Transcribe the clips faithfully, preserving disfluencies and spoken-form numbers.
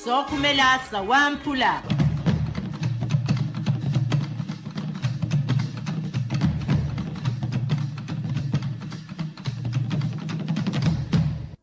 Sookhumela sawamphula.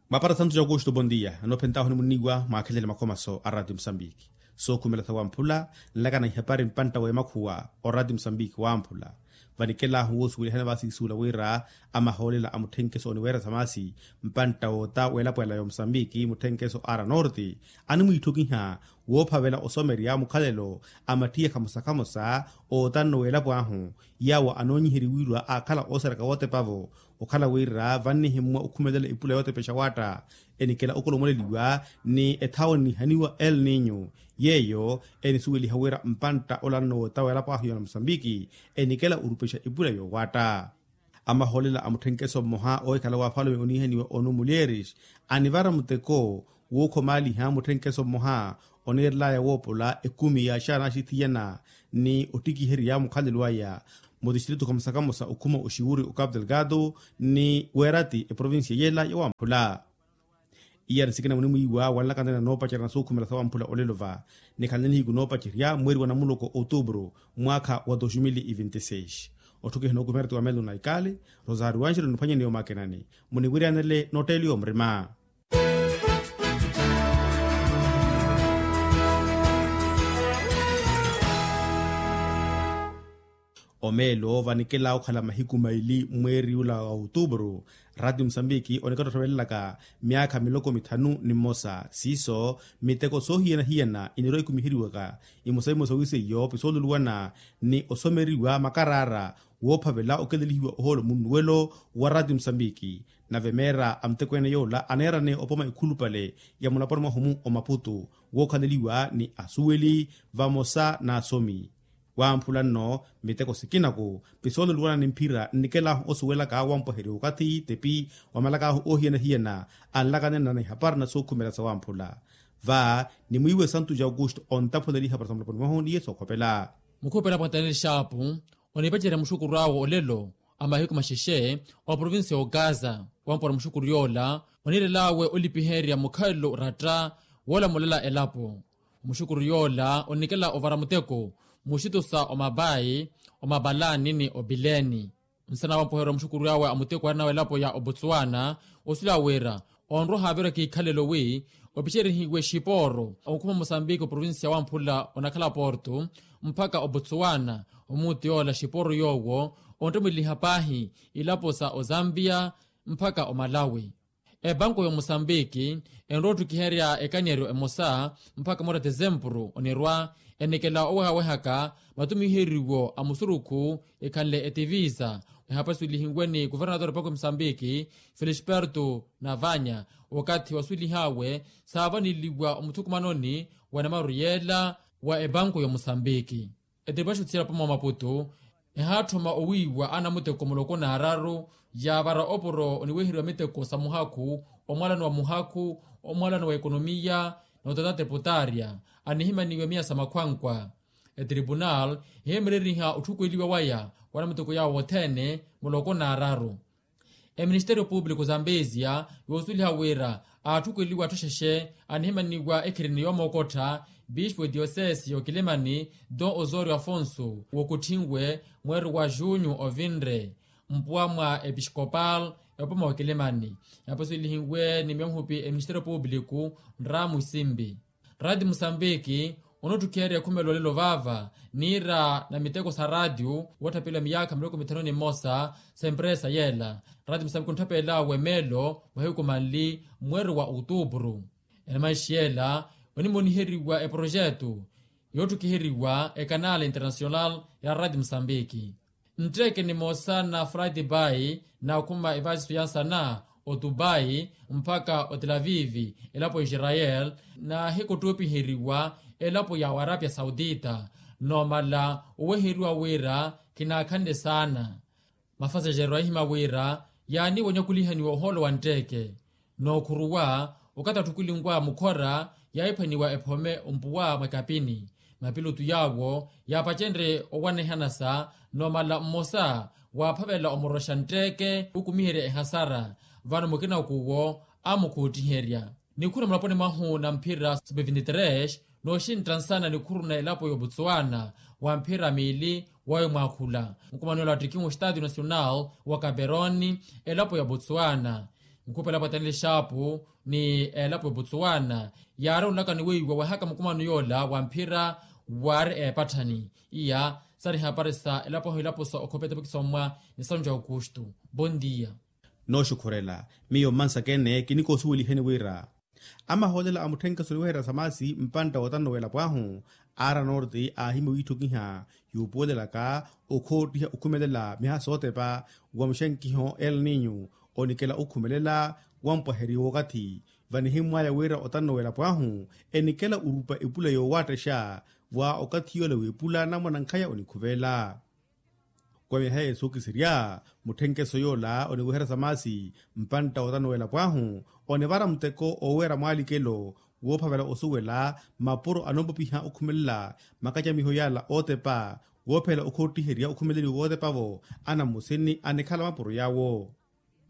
Mwapara santu ja aukusto bondia anoophentahu nimuniwa mwaakhelele makhomaso a ratio musambiki. Sookhumela sawamphula nlakana ihapari mpantta w'emakhuwa o ratio musambiki wamphula. Vanikelahu woosuwelihana vaasiisuula wira amahoolela a mutthenkeso oniweeresa maasi mpantta woota w'elapo ela ya omusambiki mutthenkeso ara norte animwiitthokiha woophavela osomerya mukhalelo a mattiya khamosa khamosa ootanno w'elapo ahu. Yaawo anoonyiheriwiwa aakhala ooseraka wootepa-vo okhala wira vannihimmwa okhumelela epula yootepexa waatta enikela okolomoleliwa ni ethawo enihaniwa el ninyo yeeyo enisuweliha wira mpantta olanno woota w'elapo ahu ya omusambiki enikela orupexa epula yoowaatta. Amahoolela a mutthenkeso mmoha oohikhala w'afalume oniihaniwa onu mulyeris anivara muteko wookhomaaliha mutthenkeso mmoha oniirel'aya woopola ekumi yaaxaana axithiyana ni ottikiherya mukhalelo aya mutistritu khamosa khamosa okhuma oxiwuri o capu delgado ni weerati eprovincia yela yawamphula. Iyari sikina munimwiiwa wanlakanana noopacerya na sookhumela sawamphula olelo va nikhalani nihiku noopacerya mweeri wa namuloko outubru mwaakha wa dos mil e vinte e seis. Otthukihana okumerati wa melo na ikali rosario anxelo niphwanyeni yoomakenani muniwiryanele notteliwa murima. Omeelo vanikela okhala mahiku maili mweeri ula wa outubru ratio musambiki onikattotthovelelaka myaakha miloko mithanu ni mmosa siiso miteko soohiyana-hiyana inirwa ikumiheriwaka imosa-imosa wiseiyo pisooluluwana ni osomeriwa makaraara woophavela okelelihiwa ohoolo munnuwelo wa ratio musambiki. Nave meera a muteko ene yoola aneerane opoma ekhulupale ya mulaponi mwahu-mu omaputu wookhaleliwa ni asuweli vamosa n'asomi. Wamphula nno miteko sikinaku pisooluluwana ni mphira nnikelahu osuwelaka wampweherya okathi tepi wamalakahu oohiyana-hiyana anlakanene na ihapari na sookhumela sawamphula. Va nimwiiwe santu ja aukusto ontaphuleliha para samulaponi mwahu ni yesu okhopela. Mukhupela pwantaneli xaapu onipacerya muxukuru awe olelo a mahiku maxexe oprovincia ogaza wampora muxukuru yoola oniirel'awe olipiherya mukhalelo oratta woolamulela elapo. Omuxukuru yoola onikela ovara muteko muxitusa omapayi omapalani ni opileni. Nsana wampoherya omuxukuru awe a muteko arina w'elapo ya obotswana osulela wira onroha avirwa kiikhalelo wi opicerihiwe xipooro okhuma musambiki oprovincia wamphula onakhala porto mpakha obotswana omuuti yoola xipooro yoowo onttemweliha paahi ilapo sa ozambia mpakha omalawi. Epanku y'omusambiki enrowa otthukiherya ekanyeeryo emosa mpakha moora tesempuru onirwa enikela owehawehaka matumiheriwo a musurukhu ekhanle etivisa ehapaswelihiwe ni kuvernatore epanku y'omusambiki felisperto navanya wakathi waswelihawe saavaneliwa omuthukumanoni wa namaru yeela wa epanku y'omusambiki. Etiripuna xutthiyela opoma wa maputu ehaatthoma owiiwa anamuteko muloko n'araru yaavara opuro oniweheriwa miteko sa muhakhu omwalano wa muhakhu omwalano wa ekonomiya na otatata eputaarya anihimaniwe miya sa makhwankwa. Etripunal eheemereriha otthukweliwa waya wa anamuteko yaawo othene muloko n'araru. Eministeriyo pupiliku zambezia yoosweliha wira aatthukeliwa atthu xexe anihimaniwa ekhirene yoomookottha bispu ediyosesi y'okilimani don osorio afonso wookotthinwe mweeri wa junyu ovinre mpuwa mwa episkopal epoma w'okilimani. Yapaswelihiwe ni myohupi eministeriyo pupiliku nramu isimbi. Rati musambiki onotthukiherya ekhumelo olelo vaava niira na miteko sa ratiyo wootthapelela miyaakha miloko mithanu ni mmosa sa empresa yeela. Rati musambiki ontthapelela wemelo mahiku manli mweeri wa outupuru. Enamanxi yeela onimoniheriwa eprojetu yootthukiheryiwa ekanala internasional ya rati musambiki. Ntteke nimosa na flight bay naakhuma evaasiso ya nsana otubai mpakha otelavivi elapo ya israel naahikottuupiheriwa elapo ya arapia saudita. Noomala oweheriwa wira khinaakhanle saana. Mafasaxero ahihima wira yaaniiwa onyakulihaniwa ohoolo wa ntteke. Nookhuruwa okathi atthukulinwaya mukhora yaahiphwaniwa ephome ompuwa mwa ekapini mapilotu yaawo yaapacenrye owanehana sa noomala mmosa waaphavela omoroxa ntteke okumiherya ehasara vano mukinaku owo amukhuuttiherya. Nikhuru mulaponi mwahu na mphira sub vinti tres, nooxintta nsana nikhuru na elapo ya obotswana wa mphira miili wawe mwaakhula. Mukumano ela wattikihu estadio nacional wa caperoni, elapo ya botswana, nkhupa elapo ya taneli xaapu ni elapo ya botswana, yaaronlaka ni weiwa wahaka mukumano yoola wa mphira waari eepatthani. Iya sari hapari sa elapo ahu elapo sa okhopa etepekisa ommwa ni sanju ya aukustu. Bondia. Nooxukhurela miyo mmansaka ene kinikoosuweliheni wira amahoolela a mutthenkeso oniweherya samasi mpantta wootanno w'elapo ahu, ara norte aahimya owiitthukiha yuupuwelelaka okhoottiha okhumelela miha sootepa wa muxenkiho el ninyu onikela okhumelela wampwaherya w'okathi. Vanihimmwaya wira otanno w'elapo ahu enikela orupa epula yoowattexa wa okathi yoola w'epula namwanankhaya onikhuvela. Kwa myaha yesu okisirya mutthenkeso yoola oniweherya samasi mpantta wootanno w'elapo ahu onivara muteko ooweera mwaalikelo woophavela osuwela mapuro anoopopiha okhumelela makacamiho yaala ootepa woophela okhoottiherya okhumeleliwa wootepa-vo. Anammusini anikhala mapuro yaawo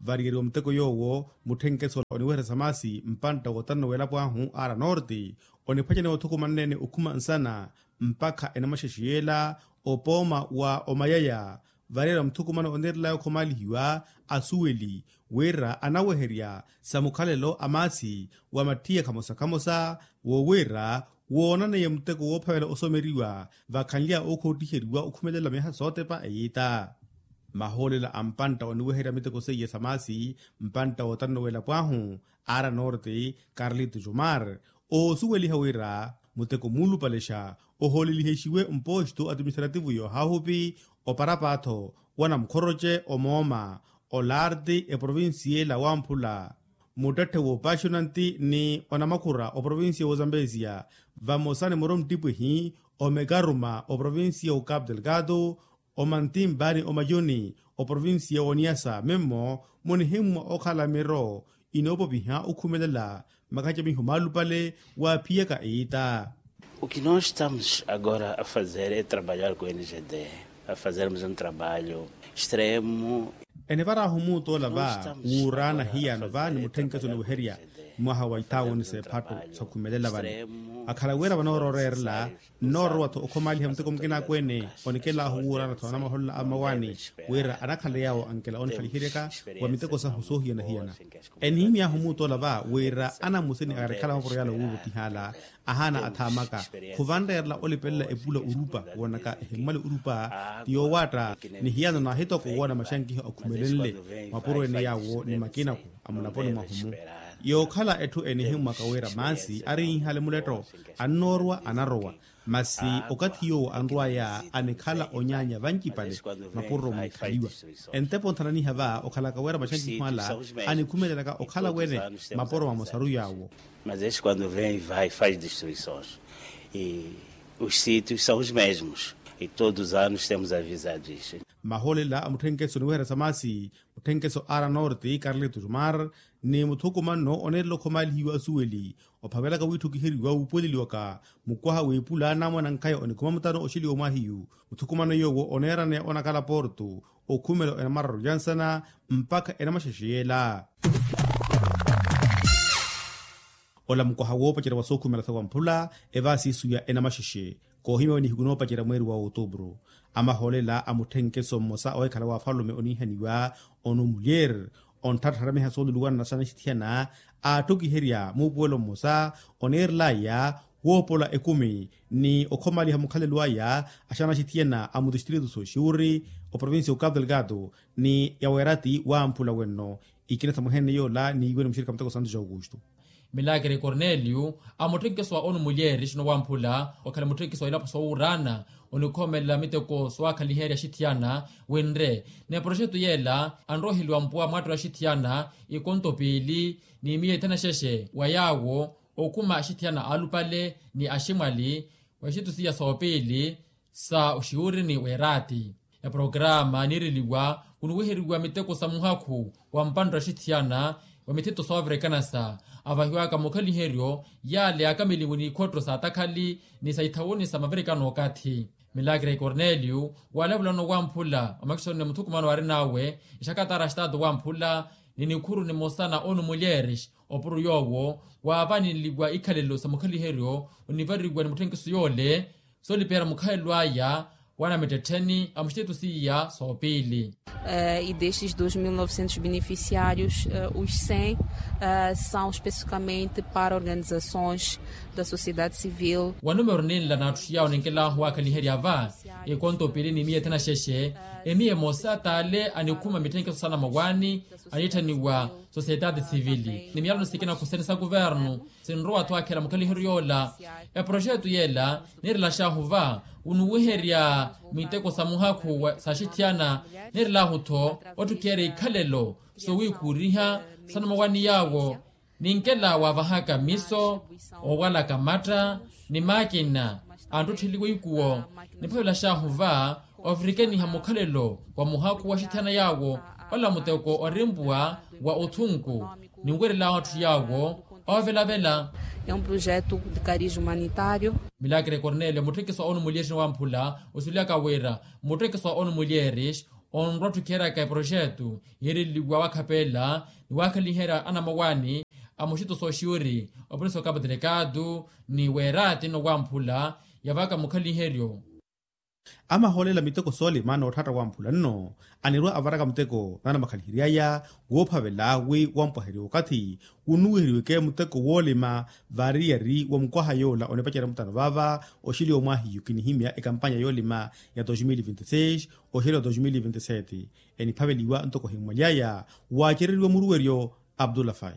variyeriwa muteko yoowo mutthenkeso ola oniweherya samasi mpantta wootanno w'elapo ahu ara norte oniphwacaniwa othukumanene okhuma nsana mpakha enamaxexe yeela opooma wa omayaya. Variyeriwa muthukumano onirelaya okhomaalihiwa asuweli wira anaweherya sa mukhalelo a maasi wa mattiya khamosa khamosa wo wira woonaneiye muteko woophavela osomeriwa vakhanly'awe okhoottiheriwa okhumelela myaha sootepa eyiita. Mahoolela a mpantta oniweherya miteko seiye sa maasi mpantta wootanno w'elapo ahu ara norte carlito jomar oosuweliha wira muteko muulupalexa ohoolelihexiwe mposto atiministrativu yoohahupi oparapaatho wa namukhoroce omooma olarti eprovincia ela wamphula muttetthe woopaxonanti ni onamakhura oprovincia w'ozambesia vamosa ni muro mttipwehi omekaruma oprovincia w'ocapu delgado omantimba ni omayoni oprovincia w'oniasa mimmo munihimmwa okhala miro inoopopiha okhumelela makacamiho maalupale waaphiyaka eyiita. O que nós estamos agora a fazer é trabalhar com o n g d a fazermos um trabalho extremo. Enivarahu muutoola va wuuraana hiyano va ni mutthenkeso oniweherya mwaha wa ithaawoni s'ephattu sakhumelela vano akhala wira vanoororeerela nnoorowa-tho okhomaaliha muteko mukinaaku ene onikelahu wuuraana-tho anamaholola a mmawaani wira anakhala yaawo ankela oonikhaliheryaka wa miteko sahu soohiyana-hiyana. Enihimy'ahu muutoola va wira anammusini arikhala mapuro yaala wuuvotihaala ahaana athaamaka khuvanreerela olipelela epula orupa woonaka ehimmwale orupa ti yoowaatta ni hiyano naahitoko woona maxankiho akhumelenle mapuro ene yaawo ni makinaku a mulaponi mwahu-mu. Yookhala etthu enihimmwaka wira maasi ariinhale muletto annoorwa anarowa masi okathi yoowo anrw'aya anikhala onyaanya vancipale mapuro muikhaliwa entepo nthananiha va okhalaka wira maxankiho ala anikhumelelaka okhala wene mapuro mamosaru yaawo. Mas este quando vem vai faz destruições e os sítios são os mesmos e todos os anos temos avisado isso. Mahoolela a mutthenkeso oniweherya samasi mutthenkeso ara norte carlito jomar ni muthukumanno oneerela okhomaalihiwa asuweli ophavelaka wiitthukiheriwa wuupuweleliwaka mukwaha w'epula namwanankhaya onikhuma mutano oxeliwa omwahiyu muthukumanno yoowo oneeraneya onakhala porto okhumela enamararu yansana mpakha enamaxexe yeela. Ola mukwaha woopacerya wa sookhumela sawamphula evaasi isu ya enamaxexe koohimyawe nihiku noopacerya mweeri wa outubru amahoolela a mutthenkeso mmosa oweekhala wa afalume oniihaniwa onu mulyer ontthattharamiha sooluluwana na xanaxithiyana aatthukiherya muupuwelo mmosa oneerelaya woopola ekumi ni okhomaaliha mukhalelo aya a xanaxithiyana a mutistritu sooxiwuri oprovincia ya ocapu delgado ni ya weerati wamphula wenno ikina sa mwehenene yoola niiwe ni muxirikha muteko santo ja aukustu. Milakre cornelio a mutthenkeso wa onu mulyeeri xino wamphula okhala mutthenkeso wa ilapo soowuuraana onikhomelela miteko soowakhaliherya axithiyana winre ni eproxetu yeela anroheliwa mpuwa mwaattola axithiyana ikonto piili ni miya ithanu axexe wa yaawo okhuma axithiyana aalupale ni aximwali wa ixitusiya soopiili sa oxiwurini weeraati. Eporokaraama niireliwa khunuwiheriwa miteko sa muhakhu wa mpantta axithiyana wa mithito sooverekanasa avahiwaka mukhaliheryo yaale akamilimu n'ikhotto sa atakhali ni sa ithawuni sa maverekano okathi. Milakre cornelio walavulano wamphula omakisoni ni muthukumano waarin'awe exakatara a xitaatu wamphula ni nikhuru nimosa na onu mulyeres opuro yoowo waavaneliwa ikhalelo sa mukhaliheryo onivariwa ni mutthenkiso yoole soolipeera mukhalelo aya wa namittettheni a muxiteto siiya soopiili. E destes dois mil novecentos beneficiários, os cem são especificamente para organizações da sociedade civil. Wa numero ninla n'atthu yaawo ninkelahu waakhaliherya va ekonto piili ni miya ethena xexe emiya emosa t'ale anikhuma mitthenkiso sa namawaani anitthaniwa sociedade civil ni miyalano sikina khusene sa kuvernu. Sinrowa-tho akhela mukhaliheryo yoola eproxeto yeela nirelaxahu va wunuwiherya miteko sa muhakhu sa axithiyana. Nirelahu-tho otthukiyerya ikhalelo sowiikhuuriha sa numawani yaawo ninkela waavahaka miso oowalaka matta ni maakina antthuttheliwa ikuwo niphavelaxahu va ovirikeniha mukhalelo wa muhakhu wa axithiyana yaawo ola muteko orimpuwa wa othunku ninwerelawo atthu yaawo oovelavela. É um projeto de cariz humanitário. Milakre cornelio mutthikiso a onu mulyeerixini wamphula osulyaka wira mutthikiso a onu mulyeerixi onrwa otthukheraka eproxeto yiireliwa wakhapela ni waakhaliherya anamawaani a muxito sooxiwiri opolisi okapo delegado ni weeraati nno wamphula yavaka mukhaliheryo. Amahoolela miteko soolima nootthatta wamphula nno anirwa avaraka muteko naanamakhaliheryaya woophavela wi wampwaherya okathi wunuwiheriweke muteko woolima variyari wa mukwaha yoola onipacerya mutano vaava oxili omwahiyu kinihimya ekampanya yoolima ya dos mil vinti seis oxili wa dos mil vinti sete. Eniphaveliwa ntoko ohimmwaly'aya waacereriwa muruweryo abdullah fai.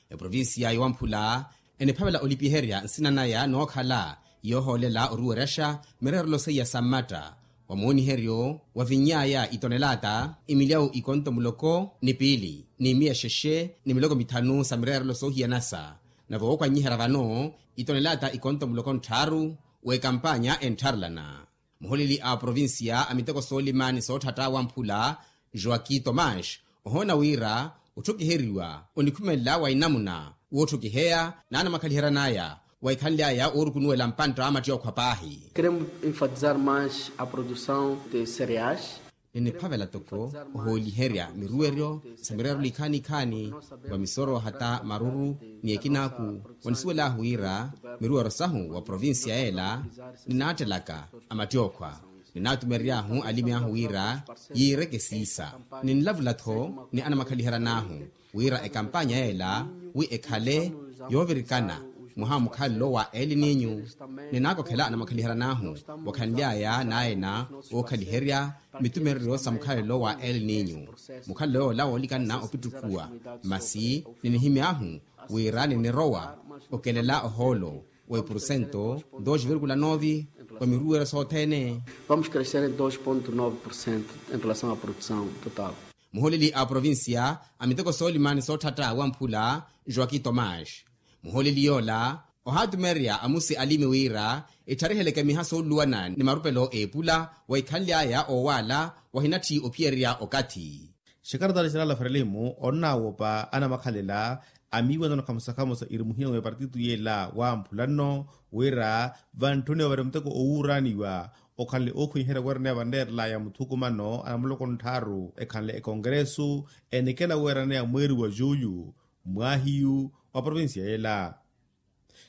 Eprovincia yowamphula eniphavela olipiherya nsina naya nookhala yoohoolela oruweryaxa mireerelo seiya sa mmatta wa mooniheryo wa vinny'aya itonelaata imilyawu ikonto muloko ni piili ni miya exexe ni miloko mithanu sa mireerelo soohiyanasa. Nave wookwanyiherya vano itonelaata ikonto muloko ntthaaru w'ekampanya enttharelana. Muholeli a provincia a miteko soolima ni sootthatta wamphula joaquim tomás ohoona wira otthukiheriwa onikhumelela wa inamuna wootthukiheya naanamakhaliheryan'aya wa ikhanly'aya oorukunuwela mpantta a mattiokhwa paahi. Queremos enfatizar mais a produção de cereais. Niniphavela toko ohooliherya miruweryo sa mireerelo ikhaani-ikhaani wa misoro hata maruru ni ekinaaku. Onisuwel'ahu wira miruweryo sahu wa provincia yeela ninaattelaka a mattiokhwa ninaatumerery'ahu alimi ahu wira yiireke siisa. Ninlavula-tho ni anamakhaliheryan'ahu wira ekampanya yeela wi ekhale yoovirikana mwaha wa mukhalelo wa el ninyu. Ninaakokhela anamakhaliheryan'ahu wakhanly'aya naayena ookhaliherya mitumereryo sa mukhalelo wa el ninyu. Mukhalelo yoola woolikanna opittukhuwa masi ninihimy'ahu wira ninirowa okelela ohoolo wa ipurusento dos virgula nove wa miruweryo sothene. Vamos crescer em dois ponto nove por cento em relação à produção total. Muholeli a provincia a miteko soolima ni sootthatta wamphula joaquim tomás muholeli yoola ohaatumererya amusi alimi wira etthariheleke miha sooluluwana ni marupelo eepula wa ikhanly'aya oowaala wahinatthi ophiyererya okathi. Xekartari xerala frelimo onnaawopa anamakhalela a miiwanano khamusa-khamusa irimuhina mwa epartitu yeela wamphula nno wira vantthuni ovare muteko owuuraaniwa okhanle ookhwiherya weeraneya vanreerelaya muthukumano anamuloko ntthaaru ekhanle ekongresu enikela weeraneya mweeri wa juyu mwaahiyu wa provincia yeela.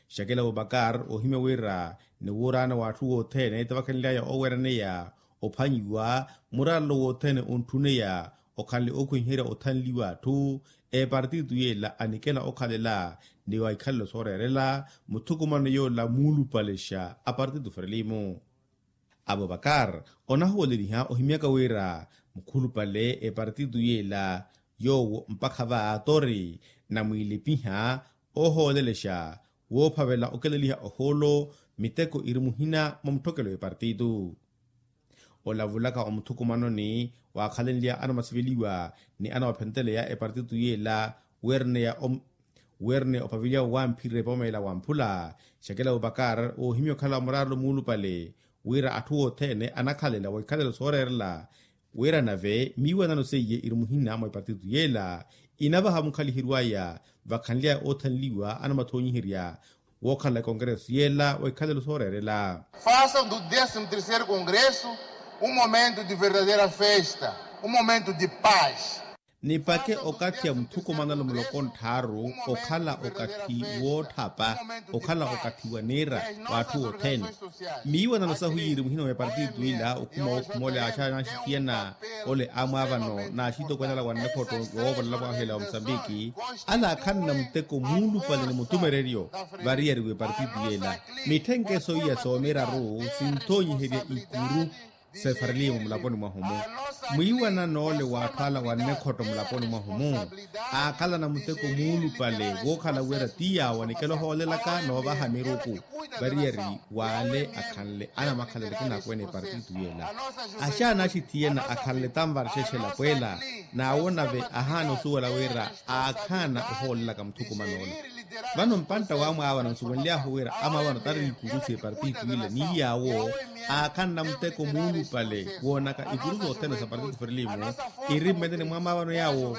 Xakela abubakar oohimya wira ni wuuraana w'atthu wothene tavakhenly'aya ooweeraneya ophanyiwa muraarelo wothene ontthuneya okhanle ookhwiherya othanliwa atthu epartitu yeela anikela okhalela ni wa ikhalelo sooreerela muthukumano yoola muulupalexa a partitu frelimo. Abubakar onahuweleliha ohimyaka wira mukhulupale epartitu yeela yoowo mpakha va tori namwiilipiha oohoolelexa woophavela okeleliha ohoolo miteko iri muhina mwa mutthokelo epartitu. Olavulaka omuthukumanoni waakhalenlya anamasiveliwa ni anawaphentteleya epartitu yeela weerneya weerneya opavilya wamphirira epooma ela wamphula. Xakela abubakar oohimya okhala muraarelo muulupale wira atthu othene anakhalela wa ikhalelo sooreerela wira nave miiwanano seiye iri muhina mwa ipartitu yeela inavaha mukhaliheryo aya vakhanly'aya oothanliwa anamathonyiherya wookhala ekongresu yeela wa ikhalelo sooreerela. Faça do décimo terceiro congresso um momento de verdadeira festa, um momento de paz. Nipake okathi a muthukumanelo muloko nttharu okhala okathi wootthapa, okhala okathi wa niira w'atthu othene. Miiwanano sahu yiiri muhina wa epartito ila okhuma wookhuma ole aaxaana axithiyana ole amwaavano n'axitokweene ala wa nnekhotto yoovolela mwaahela wa musambiki, ala akhanna muteko muulupale ni mutumereryo variyari w'epartito yeela. Mitthenkeso iya soomiraru sinthonyiherya ikuru sefarelimu mulaponi mwahu-mu. Mwiiwanano ole w'atthu ala wa nnekhotto mulaponi mwahu-mu aakhalana muteko muulupale wookhala wira ti yaawo anikela ohoolelaka noovaha miruku variyari w'ale akhanle anamakhalelo akinaakwene epartito yeela. Axaana axithiyana akhanle tanvarxexe elapweela. N'awo nave ahaana osuwela wira aakhaana ohoolelaka muthukuman'ola. Vano mpantta w'amwaavano nsuwenly'ahu wira amwaavano tari ikuru s'epartito ila ni yaawo aakhanna muteko muulupale woonaka ikuru sothene sa partito ferelimu. Iri mmeteni mwa amwaavano yaawo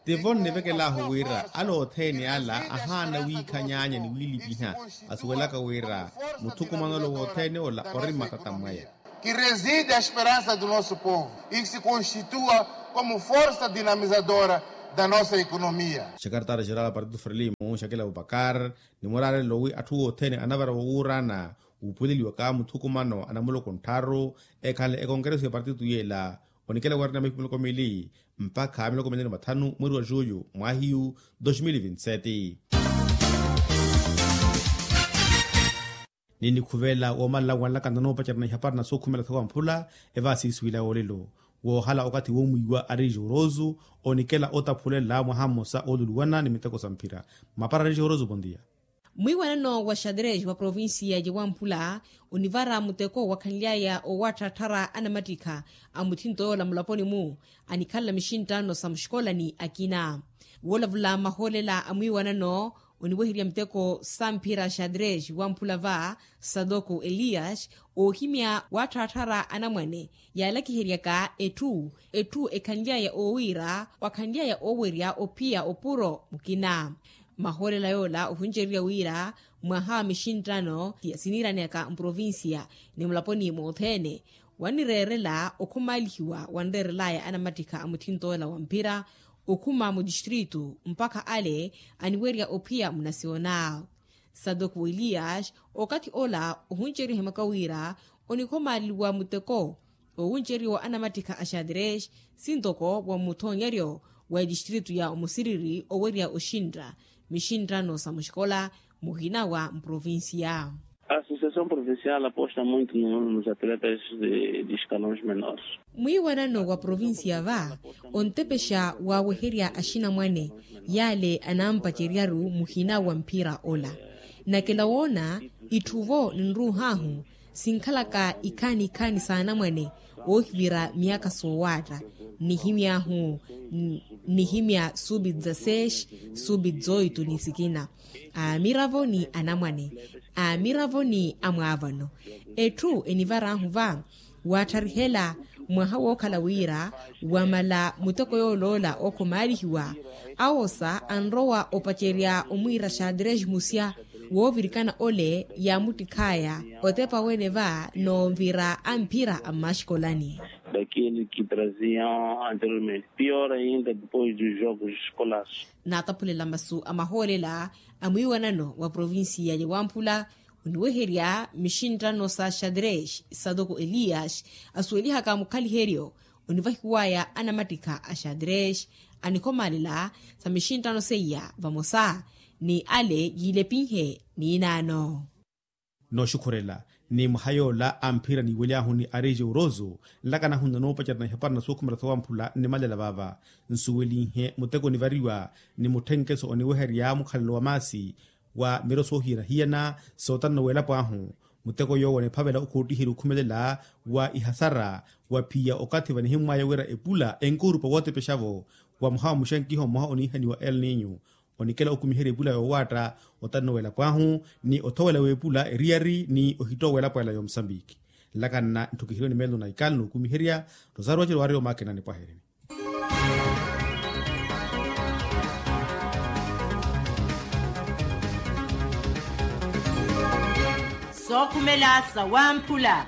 tivo nnivekel'ahu wira ala othene ala ahaana wiikha nyaanya ni wiilipiha asuwelaka wira muthukuman'olo wothene ola ori mmatata mwaya. Que reside a esperança do nosso povo e que se constitua como força dinamizadora da nossa economia. Xekartara xeral a partido frelimo xakela bubakar ni muraarelo wi atthu othene anavara wowuurana wuupuleliwaka muthukumano anamuloko nttharu ekhanle ekonkereso ya partido yeela onikela warina mihipi miloko mili mpakha miloko mili ni mathanu mweri wa juyu mwahiyu dos mil vinti sete. Ni nikhuvela woomalala wanlaka nda noopacerana ihapara na sookhumela thawa mphula evaasiisiwila yoolelo woohala okathi woomwiiwa ari joroso onikela otaphulela mwaha mmosa ooluluwana ni miteko sa mphira. Mapara ari joroso bondia. Mwiiwanano wa xadrez wa provincia ya wamphula onivara muteko wakhanly'aya owatthaattharya anamattikha a muthinto yoola mulaponi-mu anikhalela mixinttano sa muxikolani akina. Woolavula mahoolela a mwiiwanano oniweherya miteko sa mphira xadrez wamphula va sadoko elias oohimya waatthaattharya anamwane yaalakiheryaka etthu etthu ekhanly'aya oowiira wakhanly'aya oowerya ophiya opuro mukina. Mahoolela yoola ohuncererya wira mwaha wa mixinttano siniiraneyaka mprovincia ni mulaponi mothene wannireerela okhumaalihiwa wanreerelaya anamattikha a muthinto yoola wa mphira okhuma mutistritu mpakha ale aniwerya ophiya munasiona. Sadoko elias okathi ola ohunceriwa ehimaka wira onikhomaaliwa muteko owunceriwa anamattikha a xadrez sintoko wa muthonyeryo wa etistritu ya omusiriri owerya oxintta mixinttano sa muxikola muhina wa mprovincia. A associação provincial aposta muito nos atletas de escalões menores. Mwiiwanano wa provincia va ontepexa waaweherya axinamwane yaale anampaceryaru muhina wa mphira ola. Nakela woona itthu vo ninruuh'ahu sinkhalaka ikhaani ikhaani s'anamwane oohivira miyakha soowaatta nihimy'ahu nihimya subi dzaseis subi dzoito ni sikina aamiravo ni anamwane aamiravo ni amwaavano. Etthu enivar'ahu va waattarihela mwaha wookhala wira wamala muteko yooloola okhomaalihiwa awosa anrowa opacerya omwiira xadrez musya woovirikana ole yaamuttikh'aya otepa wene va noonvira a mphira a mmaxikolani. Daqueles que traziam anteriormente pior ainda depois dos jogos escolares. Naataphulela masu a mahoolela a mwiiwanano wa provincia ya wamphula oniweherya mixinttano sa xadrez satoko elias asuwelihaka mukhaliheryo onivahiwaya anamattikha a xadrez anikhomaalela sa mixinttano seiya vamosa ni ale yiilepinhe niinaano. Nooxukhurela ni mwaha yoola a mphira niiwely'ahuni ari joroso nlakanahu nda noopacerana ihapara na sookhumela sowamphula nnimalela vaava nsuwelinhe muteko onivariwa ni mutthenkeso oniweherya mukhalelo wa maasi wa miro soohiyana-hiyana sootanna w'elapo ahu. Muteko yoowo oniphavela okhoottiherya okhumelela wa ihasara wa phiya okathi vanihimmwaya wira epula enkoorupa wootepexavo wa mwaha wa muxenkiho mmoha oniihaniwa el ninyo onikela okumiherya epula yoowaatta otanno w'elapo ahu ni othowela w'epula eriyari ni ohittowa w'elapo ela y'omusambiki. Nlakanna ntthukiheriwe ni meelo na ikaalu n'okumiherya rosario wacelo waari omaakinani pwahereni. Sookhumela sawamphula.